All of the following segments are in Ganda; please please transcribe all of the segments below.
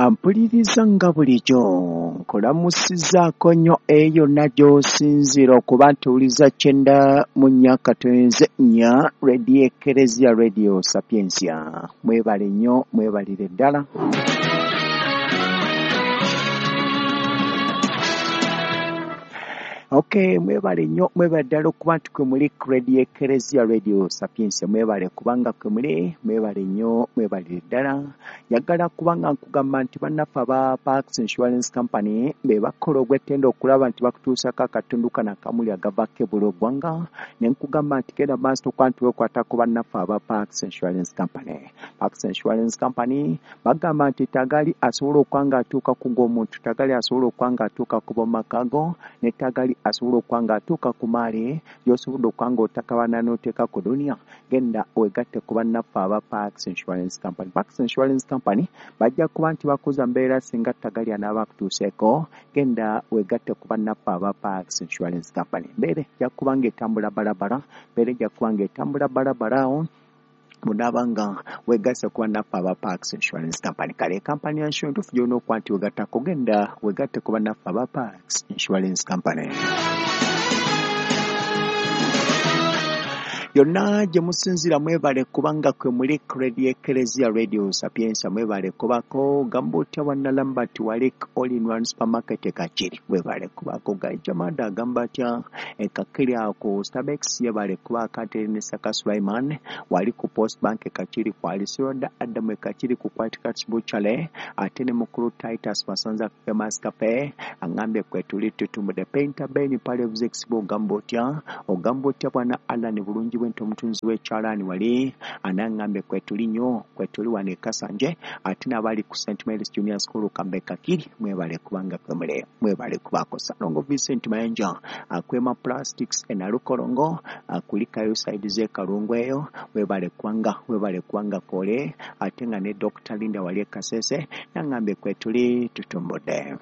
Ampuliriza nga bulijjo nkulamusizzaako nnyo eyo yonna gy'osinziira okuba nti owuliza 94.4 Radio Ekereziya Radio Sapientia. Mwebale nnyo, mwebalire ddala. Okay, mwebale nnyo, mwebale ddala okuba nti kwe muli ku Radio Ekereziya Radio Sapientia. Mwebale kubanga kwe muli, mwebale nnyo, mwebalire ddala. Njagala kubanga nkugamba nti bannaffe aba Parks Insurance Company be bakola ogw'ettendo okulaba nti bakutuusako akatundu kano akamuli agavaako ebula oggwanga, ne nkugamba nti genda maaso okuba nti weekwata ku bannaffe aba Parks Insurance Company. Parks Insurance Company bagamba nti tagali asobola okuba ng'atuuka ku gw'omuntu, tagali asobola okuba ng'atuuka ku b'omu maka go, ne tagali asobola okuba ng'atuuka ku maali gy'osobodde okuba ng'otakabana n'oteeka ku duniya. Genda weegatte ku bannaffe aba Parks Insurance Company. Parks Insurance Company bajja kuba nti bakuza mbeera singa tagali anaaba akutuuseeko. Genda weegatte ku bannaffe aba Parks Insurance Company. Mbeera ejja kuba ng'etambula balabala, mbeera ejja kuba ng'etambula balabala awo bw'onaaba nga weegasse ku bannaffe aba Parks Insurance Company. Kale kampani ya insurance entuufu gy'olina okuba nti weegattako, genda weegatte ku bannaffe aba Parks Insurance Company. Yonna gye musinziira mwebale kubanga kwe muli ku Radio Ekereziya Radio Sapientia. Mwebale kubako gamba otya bwannalamba nti wali all in one supermarket e Kakiri, mwebale kubako. Gaijamanda agamba atya e Kakiri awo ku Starbucks, yebale kubaako. Ate ne Saka Sulaiman wali ku Post Bank e Kakiri, kwali Siroda Adamu e Kakiri ku White Cats Butchery, ate ne mukulu Titus Masanza Famous Cafe angambye kwe tuli tutumudde. Painter Ben pale Buzex, ogamba otya, ogamba otya bwana Alan bulungi bwe nti omutunzi w'ekyalaani wali anaŋŋambye kwetuli nnyo, kwetuli wano e Kasanje, ate n'abali ku St Mary's Junior School Kambe Kakiri, mwebale kubanga kwemule, mwebale kubaako. Salongo Vincent Mayanja akwema Plastics e Nalukolongo akulikayo side z'e Kalungu eyo, webale kubanga, webale kubanga kole, ate nga ne Dr Linda wali e Kasese naŋŋambye kwetuli tutumbudde.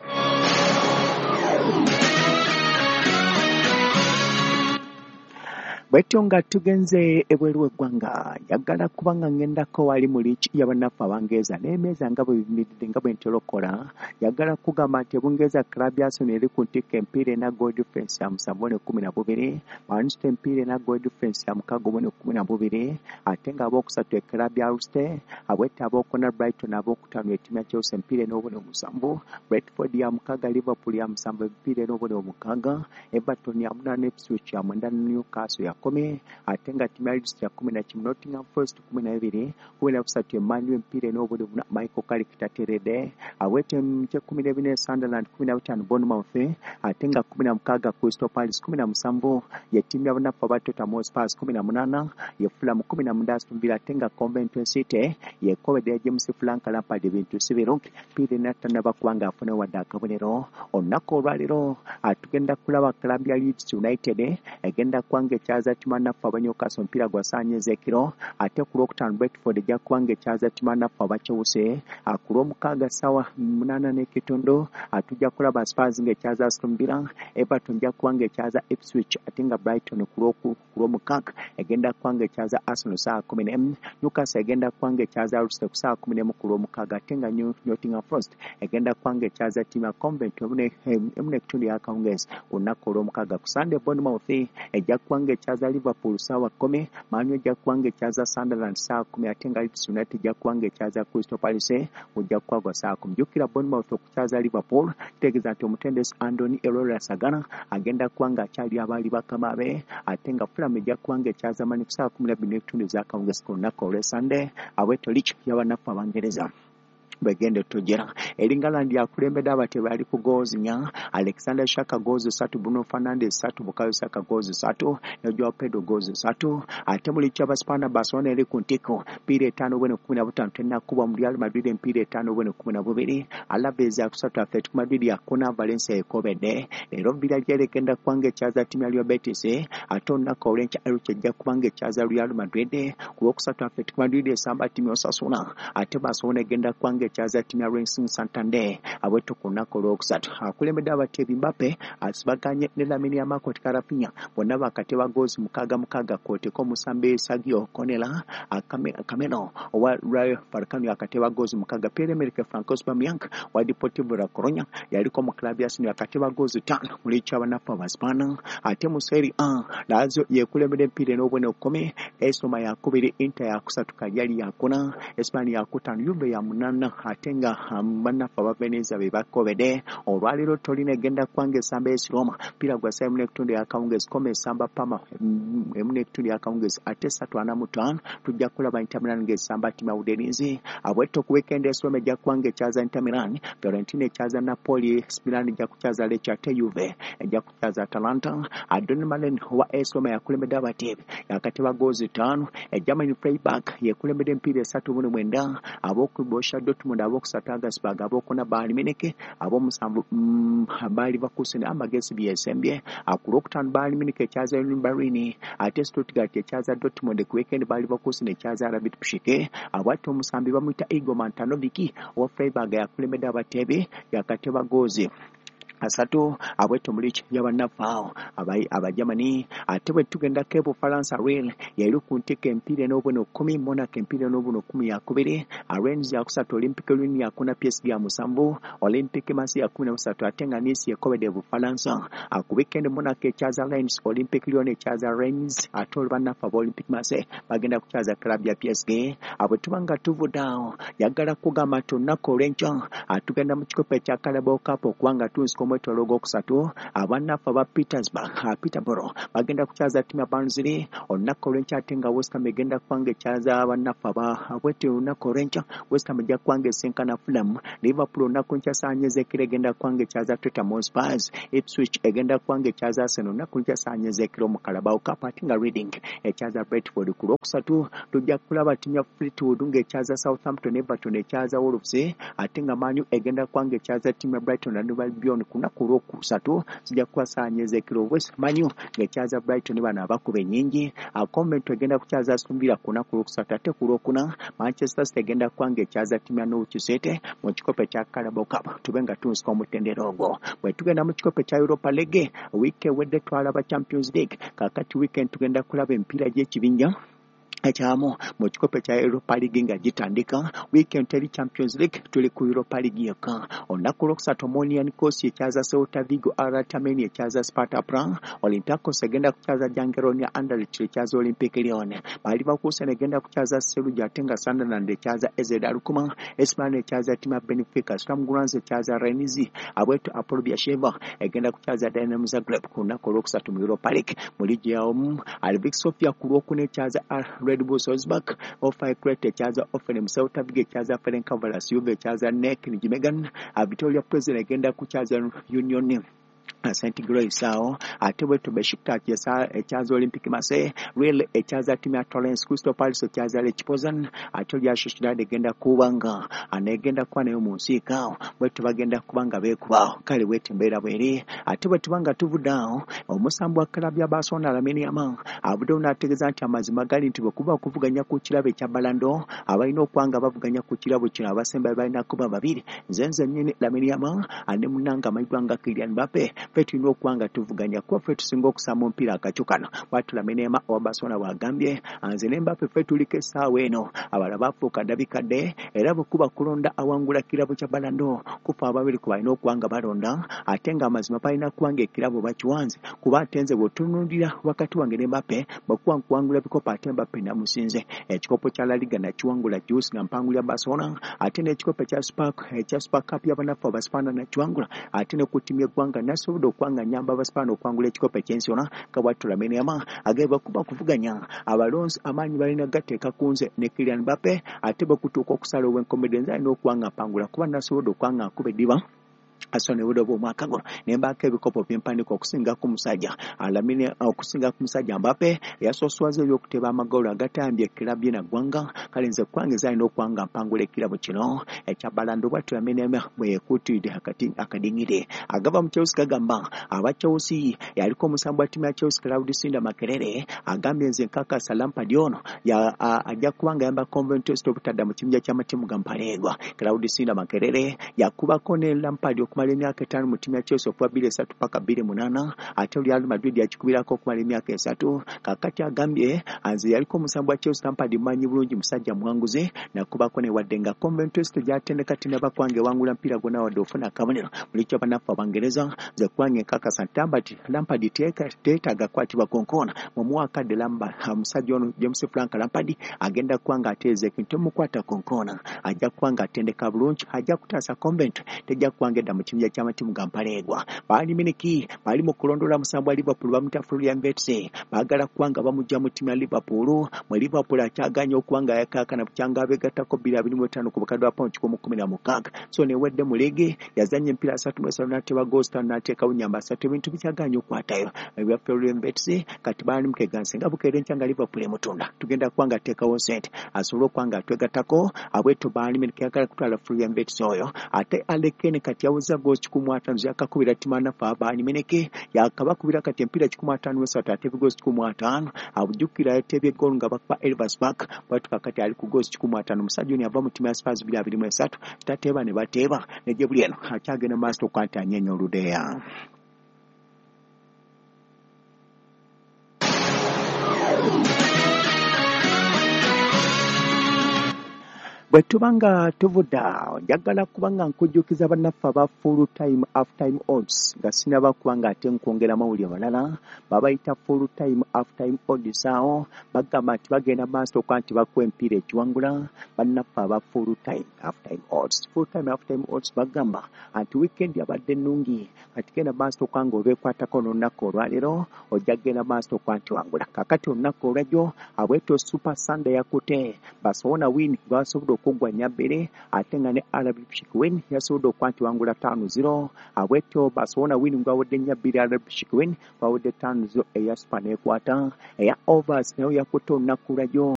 Bwetyo nga tugenze ebweru w'eggwanga, njagala kubanga ŋŋendako wali mu liigi y'abannaffe Abangereza n'emmeeza nga bwe bimiridde nga bwe ntera okukola. Njagala kugamba nti Ebungereza club ya Arsenal eri ku ntikko, empiira ena goal difference ya 7-12, Manchester empiira ena goal difference ya 6-12, ate ng'abookusatu e club ya Leicester, abwette abookuna Brighton, abookutaano ettiimu ya Chelsea empiira ena obubonero 7, Brentford ya 6, Liverpool ya 7 emipiira ena obubonero 6, Everton ya 8, Ipswich ya 9, Newcastle ya 10, ate nga ttiimu ya Leeds ya 11, Nottingham Forest 12, 13 e Man U emipiira ena obubonero 4, Michael Carrick tateredde, awete ky'ekkumi n'ebina Sunderland, 15 Bournemouth, ate nga 16 Crystal Palace, 17 ye ttiimu y'abannaffe aba Tottenham Hotspur, 18 ye Fulham, 19 Aston Villa, ate nga Coventry City yekobedde James Frank Lampard ebintu si birungi, mpiira ena tannaba kuba ng'afuna wadde akabonero. Olunaku olwaleero tugenda kulaba club ya Leeds United egenda kuba ng'ekyaza ttiimu bannaffe aba Newcastle, omupiira gwa ssaawa 4 ez'ekiro, ate ku Lwokutaano Brentford ejja kuba ng'ekyaza ttiimu bannaffe aba Chelsea. Ku Lwomukaaga ssaawa 8:30 tujja kulaba Spurs ng'ekyaza Aston Villa, Everton ejja kuba ng'ekyaza Ipswich, ate nga Brighton ku Lwomukaaga egenda kuba ng'ekyaza Arsenal ssaawa 11, Newcastle egenda kuba ng'ekyaza Leicester ku ssaawa 11 ku Lwomukaaga, ate nga Nottingham Forest egenda kuba ng'ekyaza ttiimu ya Coventry 1:30 y'akawungeezi ku lunaku olw'omukaaga. Ku Sunday Bournemouth ejja kuba ng'ekyaza Liverpool ssaawa 10, Man U ejja kuba ng'ekyaza Sunderland ssaawa 10, ate nga Leeds United ejja kuba ng'ekyaza Crystal Palace ojja kuba gwa ssaawa 10. Jjukira Bournemouth okukyaza Liverpool kitegeeza nti omutendesi Andoni Iraola Sagana agenda kuba ng'akyali abaali bakama be, ate nga Fulham ejja kuba ng'ekyaza Man U ku ssaawa 12:30 ez'akawungeezi ku lunaku olw'e Sunday. Abwetyo liigi y'abannaffe Abangereza bwegenda tujera. Erling Haaland akulembedde abatebi ali ku goals 4, Alexander Isak goals 3, Bruno Fernandes 3, Bukayo Saka goals 3 ne Joao Pedro goals 3. Ate mu liigi y'Abaspaana Barcelona eri ku ntikko, mpiira 5 obubonero 15, tennakubwa mu Real Madrid empiira 5 obubonero 12, Alaves yakusatu, Atletico Madrid yakuna, Valencia ekobedde. Leero Villarreal egenda kuba ng'ekyaza ttiimu ya Real Betis, ate olunaku olw'enkya Elche ejja kuba ng'ekyaza Real Madrid. Ku Lwokusatu Atletico Madrid esamba ttiimu ya Osasuna, ate Barcelona egenda kuba ng'ekyaza ekyaza ttiimu ya Racing Santander abwetto ku lunaku olwokusatu. Akulembedde abateebi Mbappe asibaganye ne Lamine Yamal kwoteeka Raphinha bonna bakateba goozi mukaaga mukaaga kwoteeka omusambi Sergio Cornella Camelo owa Rayo Vallecano yakateba goozi mukaaga. Pierre-Emerick Francois Aubameyang wa Deportivo La Coruña yaliko mu club ya Arsenal yakateba goozi ttaano mu liigi y'abanafu Abaspaana. Ate mu Serie A Lazio yekulembedde emipiira n'obubonero kkumi, AS Roma yakubiri, Inter yakusatu, Cagliari yakuna, Espanya yakutaano, Juve ya munaana ate nga bannaffe aba Venezia be bakobedde. Olwaleero Torino egenda kubanga esamba AS Roma mpira gwa ssaawa emu n'ekitundu ey'akawungeezi, Como esamba Parma emu n'ekitundu ey'akawungeezi ate ssatu ana mu ttaano tujja kulaba Inter Milan ng'esamba ttiimu ya Udinese. Abwetto ku weekend AS Roma ejja kubanga ekyaza Inter Milan, Fiorentina ekyaza Napoli, Milan ejja kukyaza Lecce ate Juve ejja kukyaza Atalanta. Adon Malen owa AS Roma yakulembedde abateebi yakateba goozi ttaano. Germany Freiburg yekulembedde emipiira esatu mu mwenda, ab'oku Borussia Dortmund, ab'okusatu Augsburg, ab'okuna Bayern Munich, ab'omusanvu Bayer Leverkusen amagezi byesembye. Ku lwokutaano Bayern Munich ekyaza Union Berlin ate Stuttgart ekyaza Dortmund. Ku weekend Bayer Leverkusen ekyaza RB Leipzig. Abwatto omusambi bamuyita Igor Matanovic owa Freiburg yakulembedde abateebi yakateba goozi asatu abwetto mu liigi y'abannaffe awo Abajamani. Ate bwe tugendako e Bufalansa, Rennes yali ku ntikko emipiira n'obubonero kkumi, Monaco emipiira n'obubonero kkumi yakubiri, Rennes yakusatu, Olympique Lyon yakuna, PSG ya musanvu, Olympique Marseille ya kumi na busatu ate nga Nice yekobedde e Bufalansa. Ku weekend Monaco ekyaza Rennes, Olympique Lyon ekyaza Rennes ate olubannaffe aba Olympique Marseille bagenda kukyaza club ya PSG. Bwe tuba nga tuvudde awo, njagala kugamba nti olunaku olw'enkya tugenda mu kikopo ekya Carabao Cup okuba nga tunsika omwetooloolo ogwokusatu. Abannaffe aba Petersburg Peterborough bagenda kukyaza ttiimu ya Barnsley olunaku olw'enkya ate nga West Ham egenda kuba nga ekyaza abannaffe aba bwetyo olunaku olw'enkya West Ham ejja kuba nga esinkana Fulham. Liverpool olunaku nkya ssaawa nnya ez'ekiro egenda kuba nga ekyaza Tottenham Hotspur. Ipswich egenda kuba nga ekyaza Arsenal olunaku nkya ssaawa nnya ez'ekiro mu Carabao Cup ate nga Reading ekyaza Brentford. Ku lwokusatu tujja kulaba ttiimu ya Fleetwood ng'ekyaza Southampton, Everton ekyaza Wolves ate nga Man U egenda kuba nga ekyaza ttiimu ya Brighton and Albion. Ku lunaku olwokusatu zijja kuba ssaawa nnya ez'ekiro, West Man U ng'ekyaza Brighton bano abakuba ennyingi. Coventry egenda kukyaza Aston Villa ku lunaku olwokusatu ate ku lwokuna Manchester City egenda kuba ng'ekyaza ttiimu ya Norwich City mu kikopo ekya Carabao Cup tube nga tunsika omutendera ogwo. Bwe tugenda mu kikopo ekya Europa League, wiiki ewedde twalaba Champions League, kaakati weekend tugenda kulaba emipiira gy'ekibinja ekyamu mu kikopo ekya Europa League nga gitandika. Weekend teri Champions League, tuli ku Europa League yokka. Olunaku olwokusatu Omonia Nicosia ekyaza Celta Vigo, RT Armenia ekyaza Sparta Prague, Olympiacos egenda kukyaza Jagiellonia, Anderlecht ekyaza Olympique Lyon, Bayer Leverkusen egenda kukyaza Celje ate nga Sunderland ekyaza AZ Alkmaar, AC Milan ekyaza ttiimu ya Benfica, Sturm Graz ekyaza Rennes, abwetu Hapoel Beersheva egenda kukyaza Dynamo Zagreb ku lunaku olwokusatu mu Europa League. Mu liigi yaomu Levski Sofia ku lwokuna ekyaza Red Bull Salzburg, OFI Crete ekyaza Hoffenheim, Celta Vigo ekyaza Ferencvaros, Juve ekyaza NEC Nijmegen, Victoria Plzen egenda kukyaza Union St. Grace awo ate bwetyo Besiktas ekyaza Olympique Marseille, Real ekyaza ttiimu ya Torrens, Crystal Palace ekyaza Lech Poznan ate Real Sociedad egenda kuba nga anegenda kuba nayo mu nsiike awo bwetyo bagenda kuba nga beekubaawo. Kale bwetyo embeera bweri. Ate bwe tuba nga tuvudde awo, omusambi wa club ya Barcelona Lamine Yamal avuddeyo n'ategeeza nti amazima gali nti bwe kuba okuvuganya ku kirabo ekya Ballon d'Or, abalina okuba nga bavuganya ku kirabo kino abasembayo balina kuba babiri, nze nze nnyini Lamine Yamal ne munnange amanyiddwa nga Kylian Mbappe. Ffe tulina okuba nga tuvuganya kuba ffe tusinga okusamba omupiira akakyo kano. Bw'atyo Lamine Yamal owa Barcelona bw'agambye, nze ne Mbappe ffe tuliko essaawa eno, abalala baafuuka dda bikadde, era bwe kuba kulonda awangula kirabo kya Ballon d'Or kufa ababiri ku balina okuba nga balonda ate ng'amazima balina kuba nga ekirabo bakiwanze kuba ate nze bw'otunuulira wakati wange ne Mbappe bwe kuba nkuwangula bikopo ate Mbappe namusinze. Ekikopo kya La Liga nakiwangula juusi nga mpangulira Barcelona ate n'ekikopo ekya Super Cup y'abannaffe Abaspaana nakiwangula ate ne ku ttiimu y'eggwanga nasobodde okuba nga nnyamba Abaspaana okuwangula ekikopo eky'ensi yonna. Nga bw'atyo Lamine Yamal agamba kuba kuvuganya abalonzi amaanyi balina gateeka ku nze ne Kylian Mbappe ate bwe kutuuka okusala ow'enkomeredde nze alina okuba nga mpangula kuba nasobodde okuba nga nkuba eddiba Arsenal nebudde oba omwaka guno nembaako ebikopo byempandiika okusinga ku musajja Lamine, okusinga ku musajja Mbappe eyasooswaza eby'okuteeba amagolo agatambye kiraabu ye naggwanga. Kale nze kwange zalina okuba nga mpangula ekirabo kino ekya Ballon d'Or. Bwatyo Lamine bwe yekuutidde akadingire agava mu Chelsea. Gagamba aba Chelsea, yaliko omusambi wa ttiimu ya Chelsea Claude Sinda Makerere agambye, nze nkakasa Lampard ono ajja kuba nga yamba Coventry obutadda mu kibinja ky'amatiimu ga mpaleegwa. Claude Sinda Makerere yakubako ne Lampard okumala emyaka 5 mu ttiimu ya Chelsea okuva 2003 paka 2008, ate Real Madrid yakikubirako okumala emyaka 3. Kakati agambye, nze yaliko omusambi wa Chelsea Lampard mmanyi bulungi, musajja muwanguzi, nakubako ne wadde nga Coventry gyatendeka tinaba kwange ewangula mpira gwonna wadde ofuna akabonero mulikyo. Bannaffe Abangereza, nze kwange nkakasa nti Lampard teetaaga kukwatibwa konkoona, mumuwa akadde. Omusajja ono James Frank Lampard agenda kuba nga ateeza ekintu, temukwata konkoona, ajja kuba nga atendeka bulungi, ajja kutaasa Coventry tejja kuba nga edda mu kibinja ky'amatiimu ga mpaleegwa. Bayern Munich bali mu kulondoola musambi wa Liverpool bamuyita Florian Wirtz, baagala kuba nga bamugja mu ttiimu ya Liverpool. Mu Liverpool akyaganye okuba nga yakaakana bukyanga abeegattako 2025 ku bukadde bwa pawundi 116. So newedde mu liigi yazannya emipiira 33 n'ateeba goals 5 n'ateekawo nnyamba 3, ebintu bikyaganye okukwatayo ebya Florian Wirtz. Kati Bayern Munich eganse nga bukeera enkya nga Liverpool emutunda, tugenda kuba nga ateekawo ssente asobole okuba nga atwegattako. Abwetyo Bayern Munich yagala kutwala Florian Wirtz oyo. Ate Harry Kane kati yaweza goals 150 yakakubira ttiimu naffe aba Bayern Munich, yakabakubira kati emipiira 153 ate goals 150. Abujjukira yateebye goal nga bakuba Elversberg. Bwatuka kati ali ku goals 150. Omusajja ono yava mu ttiimu ya Spurs 2023, tateeba ne bateeba ne gye buli eno akyagenda maaso okuba nti anyeenya oludeeya. Bwe tuba nga tuvudde awo, njagala kuba nga nkujjukiza bannaffe aba full time half time odds nga sinaba kuba nga ate nkwongera mawulire malala. Babayita full time half time odds, awo bagamba nti bagenda maaso okuba nti bakuwa emipiira ekiwangula. Bannaffe aba full time half time odds, full time half time odds bagamba nti weekend yabadde nnungi, kati genda maaso okuba nga obeekwatako n'olunaku olwaleero, ojja kugenda maaso okuba nti wangula. Kakati olunaku olwajjo abwetyo Super Sunday yakute Barcelona win gwasobodde okuggwa 4-2, ate nga ne RB Leipzig win yasobodde okuba nti wangula 5-0. Abwetyo Barcelona win gwawedde 4-2, RB Leipzig win gwawedde 5-0. Eya super neekwata, eya overs nayo yakutte olunaku lwajjo.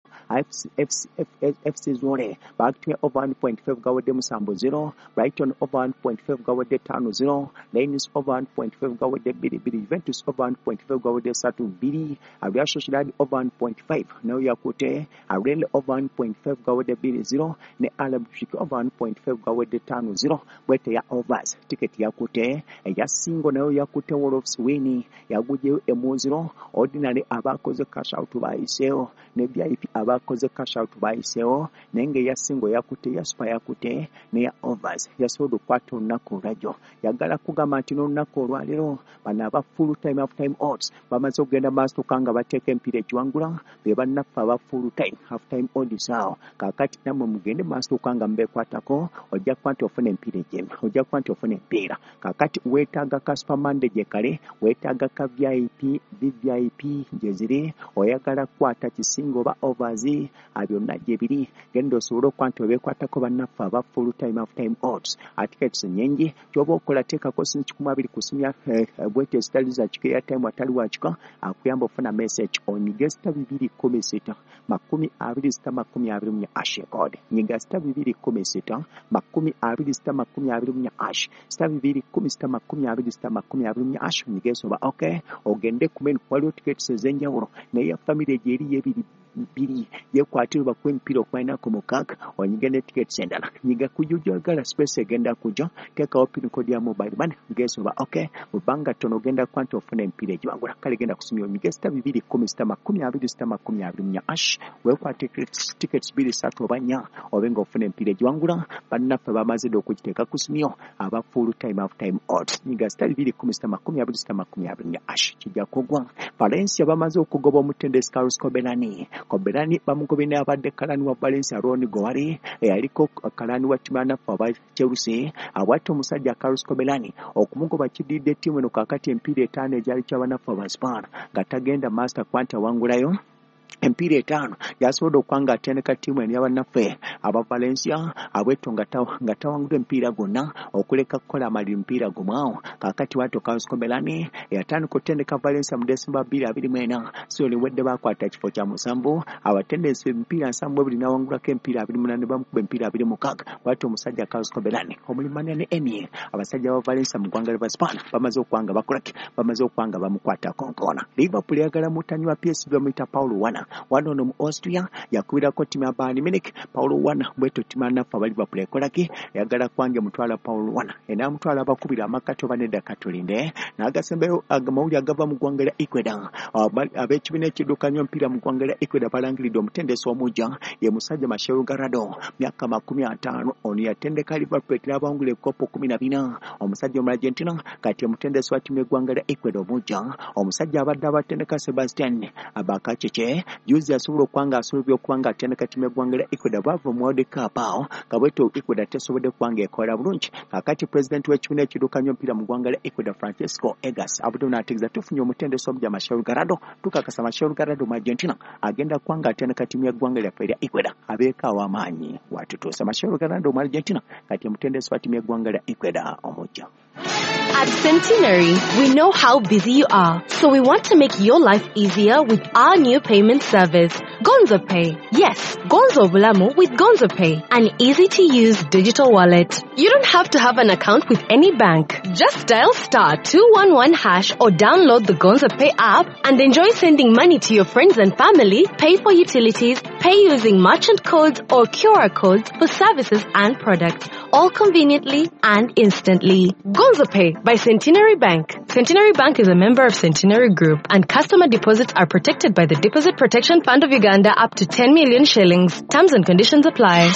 FC Zwolle bakutumye over 1.5 gawedde 7-0, Brighton over 1.5 gawedde 5-0, Lens over 1.5 gawedde 2-2, Juventus over 1.5 gawedde 3-2, Real Sociedad over 1.5 nayo yakutte, Rennes over 1.5 gawedde 2-0 ne RB Leipzig over 1.5 gawedde 5-0. Bwete ya overs ticket yakutte. Eya single nayo yakutte, Wolves win yagugyeyo 1-0. Ordinary abakoze cash out bayiseewo, ne VIP abakoze cash out bayiseewo, naye nga eya single yakutte, ya super yakutte, neya overs yasobodde okukwata olunaku olwajjo. Yagala kugamba nti n'olunaku olwaleero bano aba full time half time odds bamaze okugenda maaso nga bateeka emipiira egiwangula, be bannaffe aba full time half time odds awo. Kaakati nammwe mugende maaso okuba nga mubeekwatako, ojja kuba nti ofuna emipiira egyemi, ojja kuba nti ofuna emipiira. Kaakati weetaaga ka Super Monday gye kale, weetaaga ka VIP, VVIP gye ziri, oyagala kukwata kisinga oba overs, byonna gye biri. Genda osobole okuba nti obeekwatako bannaffe aba full time half time odds. Tickets nnyingi, kyoba okola teekako silingi 20 ku simu ya bwete ezitali za kika, airtime atali wa kika akuyamba ofuna message, onyige *216 26 24 hash code. Nyiga *216 26 24 hash, *216 26 24 hash, onyige soba okay, ogende ku menu, waliwo tickets ez'enjawulo, naye family gyeri y'ebiri bbiri yekwatire bakuwa emipiira okumalinaku 6, onyige ne tickets endala. Nyiga kujojagala space egenda kujja, teekawo pin code ya mobile money, ngesoba okay, mu bbanga ttono ogenda kuba nti ofuna emipiira egiwangula. Kale genda kusumya onyige *216 26 24 hash, weekwate tickets bbiri, ssatu oba nnya, obe ng'ofuna emipiira egiwangula. Bannaffe bamaze dda okugiteeka ku simyo aba full time half time odds. Nyiga *216 26 24 hash, kijja kugwa. Valencia bamaze okugoba omutendesi Carlos Corberán. Corberán bamugobye n'abadde kalani wa Valencia Ron Gourlay, eyaliko kalani wa ttiimu yanaffe aba Chelsea. Abwate omusajja Carlos Corberán okumugoba kiddiridde ttiimu eno kaakati emipiira 5 egyali kyabannaffe aba Spain nga tagenda master kuba nti awangulayo. Empiira 5 yasobodde okuba nga atendeka ttiimu eno y'abannaffe aba Valencia abwetto nga tawanguddwa emipiira gwonna okuleka kukola amaliri mupiira gumu awo. Kaakati bwatyo Carlos Corberán eyatandika okutendeka Valencia mu December 2024 sizoni ewedde baakwata kifo kya 7, abatendesi emipiira 72 n'awangulako emipiira 28 bamukuba emipiira 26. Bwatyo omusajja Carlos Corberán omulimanya ne Emi abasajja ba Valencia mu ggwanga lya Spain bamaze okuba nga bakolaki, bamaze okuba nga bamukwatako nkoona. Liverpool eyagala mutanyi wa PSV bamuyita Paulo Werner, wano ono mu Austria yakubirako ttiimu ya Bayern Munich. Paulo Werner bwetyo ttiimu ya naffe aba Liverpool ekolaki, eyagala kwange mutwala Paulo Werner, enaamutwala abakubira amakati oba nedda katulinde. N'agasembayo amawulire agava mu ggwanga lya Ecuador, ab'ekibiina ekiddukanya omupiira mu ggwanga lya Ecuador balangiridde omutendesi omujja ye musajja Marcelo Gallardo, myaka 50. Ono yatendeka Liverpool n'abawangula ebikopo 14. Omusajja omu Argentina kati omutendesi wa ttiimu y'eggwanga lya Ecuador omujja, omusajja abadde abatendeka Sebastian Abakacece juzi asobola okuba nga asobola okuba nga atendeka ttiimu y'eggwanga lya Ecuador bwava mu World Cup awo nga bwetyo Ecuador tesobodde kuba nga ekola bulungi. Kaakati pulezidenti w'ekibiina ekiddukanya omupiira mu ggwanga lya Ecuador Francisco Egas avudde n'ategeeza tufunye omutendesi omujja Marcelo Gallardo, tukakasa Marcelo Gallardo mu Argentina agenda kuba nga atendeka ttiimu y'eggwanga lyaffe erya Ecuador abeeko aw'amaanyi watutuusa. Marcelo Gallardo mu Argentina kati omutendesi wa ttiimu y'eggwanga lya Ecuador omujja. At Centenary, we know how busy you are, so we want to make your life easier with our new payment service, Gonzo Pay. Yes, Gonzo Bulamu with Gonzo Pay, an easy-to-use digital wallet. You don't have to have an account with any bank. Just dial *211# or download the Gonzo Pay app and enjoy sending money to your friends and family, pay for utilities, pay using merchant codes or QR codes for services and products, all conveniently and instantly. Gonzo Pay by Centenary Bank. Centenary Bank is a member of Centenary Group, and customer deposits are protected by the Deposit Protection Fund of Uganda up to 10 million shillings. Terms and conditions apply.